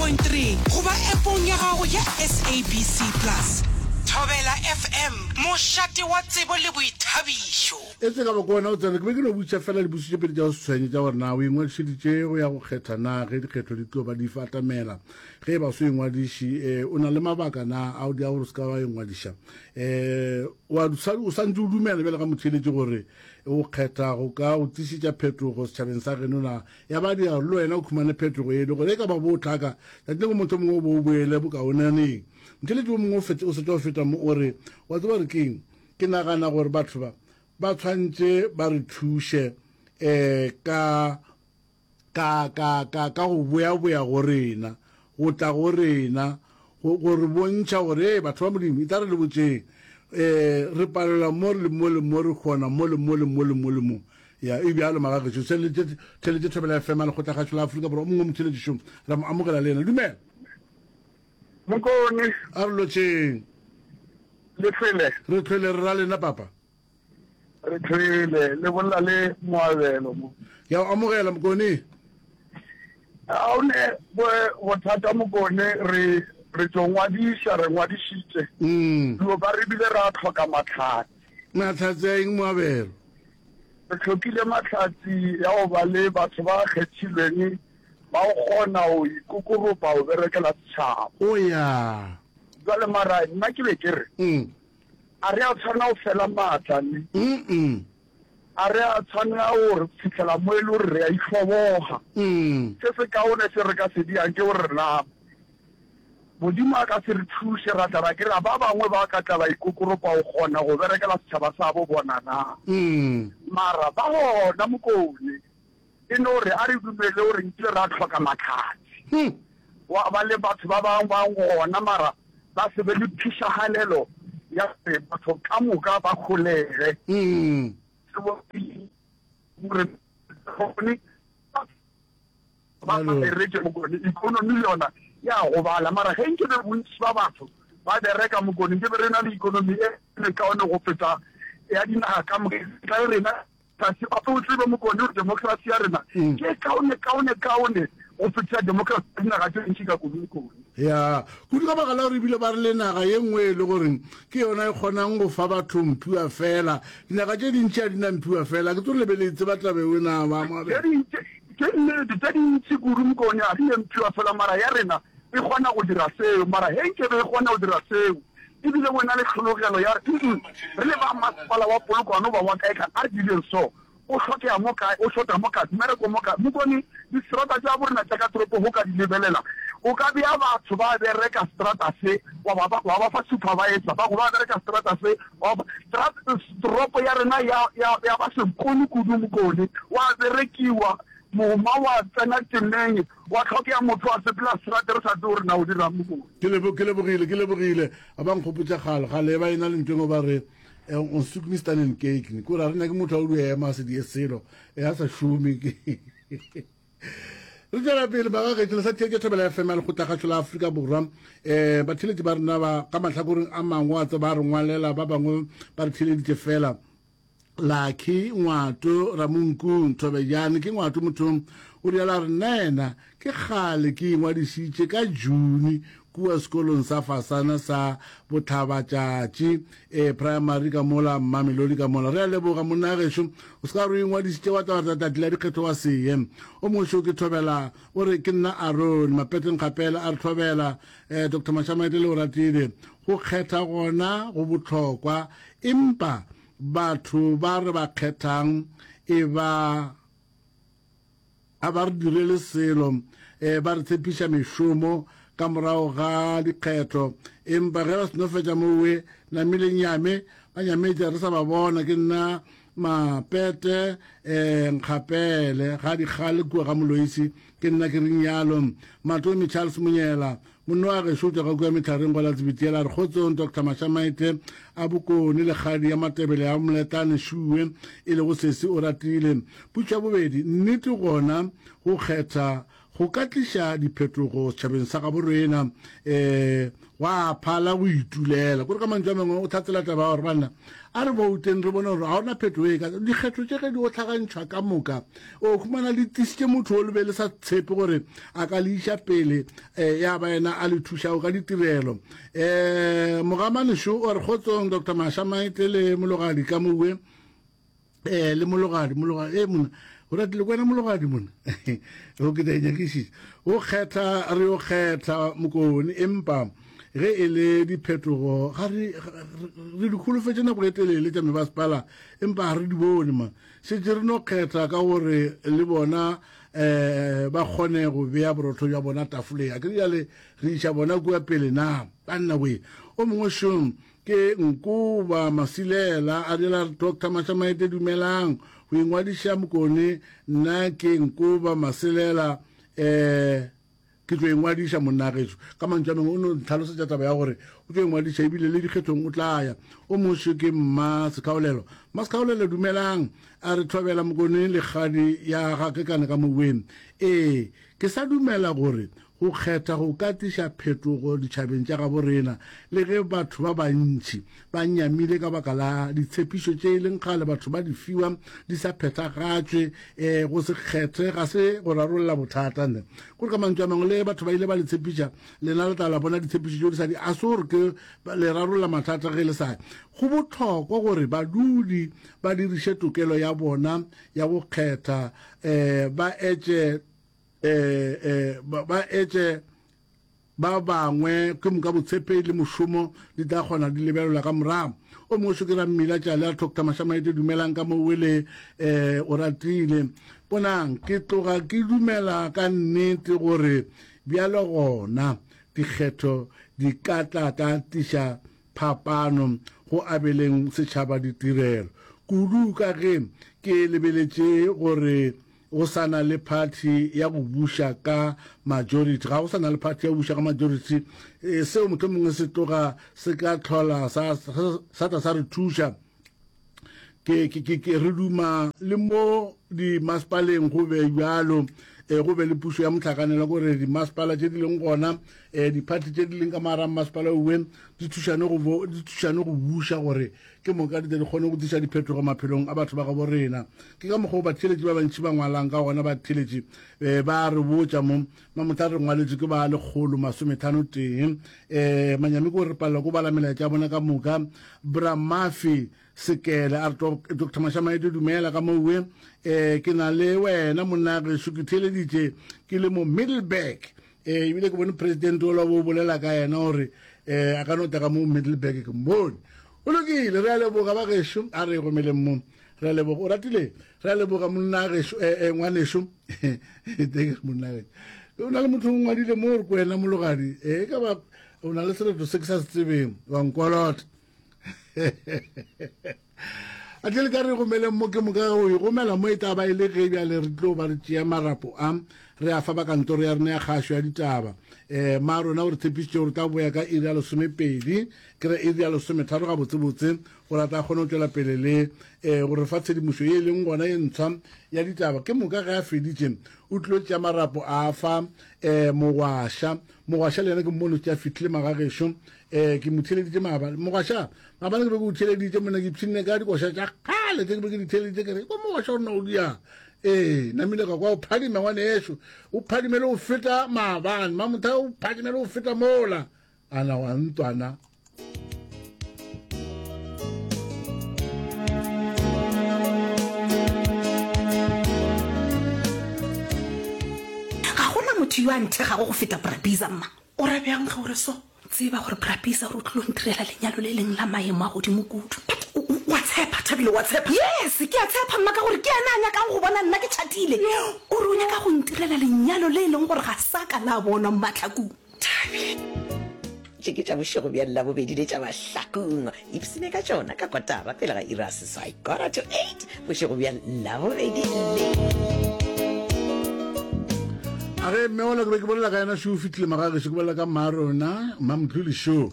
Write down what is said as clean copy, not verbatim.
107.3 goba appong ya gago ya SABC Plus. Thobela FM, mošate wa tsebo le boithabišo. E se ka ba ke wena o tsena, ke be ke no botšiša fela dipotšišo tše pedi tša go se tshwenye tša gore na o ingwadišeditše go ya go kgetha na ge dikgetho di tlo ba di atamela. Ge e ba o se ingwadiše, eh, o na le mabaka na a o dia gore o se ka wa ingwadiša? Eh, wa o sa ntse o dumela bjale ga motheeletši gore o kgetha go ka o tlišetša phetogo setšhabeng sa geno na? Ya ba dira gore le wena o khumane phetogo ye le gore e ka ba bo tlhaka tšatši lengwe motho mongwe o bo o boele bokaonaneng. Motheeletši o mongwe o fetša o setša o feta mo o re, wa tseba gore keng? Ke nagana gore batho ba ba tshwantše ba re thuše um ka ka ka ka ka go boyaboya go rena, go tla go rena, go go re bontšha gore ee batho ba Modimo, e tla re le botšeng um re palelwa mo le mo le mo, re kgona mo le mo le mo le mo le mo. Ya e bjalo magagešu, theletše theletše Thobela FM ya Lekgotlakgašo la Afrika Borwa, o mongwe motheletši šo ra mo amogela le yena. Dumela. Mokone. A re lotšheng. Le tlhwele. Re tlhwele re ra lena papa. Re tlhwele le bolela le Moabelo mo. Ke a o amogela Mokone. A o ne bothata Mokone re re tlo ngwadiša re ngwadišitše. Mm. Dilo ba re bile ra tlhoka mahlatse. Mahlatse a eng Moabelo? Re tlhokile mahlatse ya go ba le batho ba kgethilweng ba go kgona go ikokoropa go berekela setšhaba. O ya. Jwale mara nna ke be ke re. Mm. A re a tshwanela go fela maatla ne? Mm-mm. A re a tshwanela go re fihlela mo e le gore re a itlhoboga? Mm. Se se kaone se re ka se diang ke gore na Modimo a ka se re thuše ra tla ra kry-a ba bangwe ba ka tla ba ikokoropa go kgona go berekela setšhaba sa bo bona na? Mm. Mara ba gona Mokone. E no re a re dumele gore nkile ra hloka mahlatse. Hmm. Gwa ba le batho ba bangwe ba gona mara ba se be le phišagalelo ya gore batho ka moka ba holege. Hmm. Gore bone ba Alo. bereke Mokone, economy le yona ya gobala. Mara ge nke be bontši ba batho ba bereka Mokone, nke be re na le economy e kaone go feta ya dinaga ka moka. Tla rena Tlase gape o tsebe Mokone gore demokrasi ya rena ke e kaone kaone kaone go fetiša demokrasi ya dinaga tše dintši ka kudu Mokone. Ya, kudu ka baka la gore ebile ba re le naga ye nngwe e le gore ke yona e kgonang go fa batho mphiwa fela. Dinaga tše dintši ga di na mphiwa fela. Ke tsore le be le e tseba taba eo na ba Tše Moabelo? dintši, ke nnete, tše dintši kudu Mokone ga di ne mphiwa fela mara ya rena e kgona go dira seo. Mara ge nkebe e kgona go dira seo ebile o ena le tlhologelo ya re, Mm-mm, re le ba masepala wa Polokwane goba wa kae kae, a re direng so. O hlokega mo kae, o šota mo kae, mmereko mo kae. Mokone, distrata tša borena tša ka toropong go ka di lebelela, o ka bea batho ba bereka strata se, wa ba, wa ba fa supervisor, ba go ba bereka strata se, wa ba, toropo ya rena ya, ya, ya ba sekolo kudu, Mokone, wa berekiwa, mogoma wa tsena temeng, Gwa hlokega motho a sepela seterata re sa tsebe gore na o dirang mo. Ke lebo, ke lebogile, ke lebogile. A ba nkgopotša kgale, kgale ba ena le ntho engwe ba re eh, on soek nie staan en kyk nie. Kore a re nyake motho a o dio ema a se die selo, eh, a sa šome. Re tšwela pele bagagetšo le sa theetša Thobela FM ya Lekgotlakgašo la Afrika Borwa. Eh, batheeletši ba rena ba ka mahlakoreng a mangwe a tseba re ngwalela, ba bangwe ba re theeleditše fela. Lucky Ngwato Ramonkung Thobejane ke Ngwato mothong o rialo a re nnaena ke kgale ke ingwadišitše ka June kua sekolong sa fasana sa Bohlabatšatši e primary ka mola Mamelodi ka mola. Re a leboga monna gešo o se ka re o ingwadišitše wa tla wa tlatla la dikgetho wa seye. O mongwe šo ke Thobela o re ke nna Aaron Mapeteng Kgapela a re Thobela eh, Dr Mashamaite le o ratile go kgetha gona go bohlokwa empa Batho ba re ba kgethang e ba a ba re direle selo, e ba re tshepiša mešomo ka morago ga dikgetho, empa ge ba seno fetša mowe namile nyame, ba nyametše re sa ba bona. Ke nna Mapete e Nkgapele ga Dikgale kua ga Moloisi, ke nna ke reng yalo. Matomi Charles Monyela Monna wa gešo o tšwa ka kua mehlareng go la Tsebitiela a re, Kgotsong, Doctor Mashamaite a Bokone, lekgadi ya Matebele ya Moletane Šuwe, e lego sesi o ratile. Putšo ya bobedi, nnete gona go kgetha go ka tliša diphetogo setšhabeng sa gabo rena um gwa phala go itulela. Kore ka mantšu a mangwe o hlatsela taba ya gore banna a re bouteng re bone gore ga ona phetogo e ka dikgetho tše ge di otlhagantšhwa ka moka o humana le tlisitše motho o le be le sa tshepe gore a ka le iša pele um ya ba yena a le thušago ka ditirelo. Um Mogamanešo o re kgotsong Doctor Masha Maite le Mologadi ka mowe eh le mologadi mologadi eh mona o ratile kwena mologadi mona o ke tla inyakišiša o kgetha re o kgetha mokone empa ge e le diphetogo ga re re di kholofetše nako e telele tša mebasepala empa ga re di bone ma šetše re no kgetha ka gore le bona um ba kgone go bea borotho bja bona tafoleng a ke jale re iša bona kua pele na banna we o mongwe šong Ke Nkoba Masilela a dira Doctor Mashamaite dumelang go ingwadiša Mokone nna ke Nkoba Masilela eh ke tlo ingwadiša monna gešo ka mantšu a mangwe o no ntlhalosetša taba ya gore o tlo ingwadiša ebile le dikgethong o tla ya o moše ke mma Sekhaolelo mma Sekhaolelo dumelang a re thobela Mokone lekgadi ya ga kekane ka moweng ee ke sa dumela gore Go kgetha go ka tliša phetogo ditšhabeng tša gabo rena, le ge batho ba bantši ba nyamile ka baka la ditshepišo tše e leng kgale batho ba di fiwa di sa phethagatšwe. Ee, go se kgethe ga se go rarolla bothata. Ne kore ka mantšu a mangwe, le ge batho ba ile ba le tshepiša, lena le tla la bona ditshepišo tšeo di sa di, a se gore ke le rarolla mathata ge le sa. Go bohlokwa gore badudi ba diriše tokelo ya bona ya go kgetha, um ba etše eh, eh, ba, ba etše ba bangwe ke moka botshepegi le mošomo di tla kgona di lebelelwa ka morago. O mongwe šo ke Rammila Tšale a Doctor Mashamaite dumelang ka mo wele eh, o ratile. Bonang ke tloga ke dumela ka nnete gore bjalo gona dikgetho di ka tla ka tliša phapano go abeleng setšhaba ditirelo kudu ka ge ke lebeletše gore Go sa na le phathi ya go buša ka majority. Ga go sa na le phathi ya go buša ka majority. E, seo mohlomongwe se tloga se ka hlola sa, sa tla sa re thuša. Ke, ke, ke, ke re duma le mo dimasepaleng go be bjalo, e, go be le pušo ya mohlakanelwa, gore dimasepala tše di leng gona, e, diphathi tše di leng ka mogare ga mmasepala owe di thušane go, di thušane go buša gore Ke moka di tle di kgone go tliša diphetogo maphelong a batho ba gabo rena. Ke ka mokgwa wo batheeletši ba bantši ba ngwalang ka gona. Batheeletši eh, ba re botša mo, Mamotla re ngwaletšwe ke ba lekgolo masometlhano tee. Eh, manyami ke gore re palelwa ke go bala melaetša ya bona ka moka. Bra Murphy Sekele a re, Doctor Mashamaite dumela ka mowe. Eh, ke na le wena monna gešo, ke theeleditše ke le mo Middelburg. Eh, ebile ke bone president ola bo bolela ka yena gore eh, a ka no tla ka mo Middelburg ke mmone. O lokile, re a leboga ba gešo, a re gomeleng mo. Re a leboga, o ratile, re a leboga monna gešo, eh, eh, ngwanešo. Teng monna gešo. O na le motho o ngwadile mo gore ko wena mologadi, eh, e ka ba o na le sereto se ke sa se tsebeng, wa nkolota. A tle le ka re gomeleng mo ke moka go e gomela mo e tla ba e le ge bjale re tlo ba re tšea marapo a re a fa ba kantoro ya rena ya kgašo ya ditaba. Um ma rona o re tshepišitše gore tla boya ka iri ya lesomepedi ke re iri ya lesometharo gabotsebotse gore a tla kgone go tšwela pele le um go re fa tshedimošo ye e leng gona ye ntshwa ya ditaba. Ke moka ge a feditše o tlilo tšea marapo a fa um mogwaša. Mogwaša le yena ke mmone o tšea fihlile magagešo um ke mo theeleditše maabane. Mogwaša Maabane ke be ke o theeleditše monna, ke ipshinne ka dikoša tša kgale tše ke be ke di theeleditše, ke re ko mogoša o nna o diang. Ee, namile ka kwa o phadima ngwaneso, o phadime le go feta maabane, mamotha o phadime le go feta mola. Ana wa ntwana. Ga gona motho yo a nthegago go feta Bra Bizza, mma. O ra bjang ge o re so? Tseba gore Bra Bizza o re o tlilo ntirela lenyalo le leng la maemo a godimo kudu. But o, o, o a tshepa, Thabile, o a tshepa? Yes, ke a tshepa mma ka gore ke yena a nyakang go bona nna ke tšhatile. O re o nyaka go ntirela lenyalo le e leng gore ga sa ka la bonwa Mmatlhakung. Thabile. Tše ke tša bošego bja Labobedi le tša Mahlakung. Ipsine ka tšona ka kotara pele ga iri ya seswai, quarter to eight, bošego bja Labobedi le. A ge mme ola ke be ke bolela ka yena šo o fihlile magagešo, ke bolela ka mma rona, Mmamkhulu šo.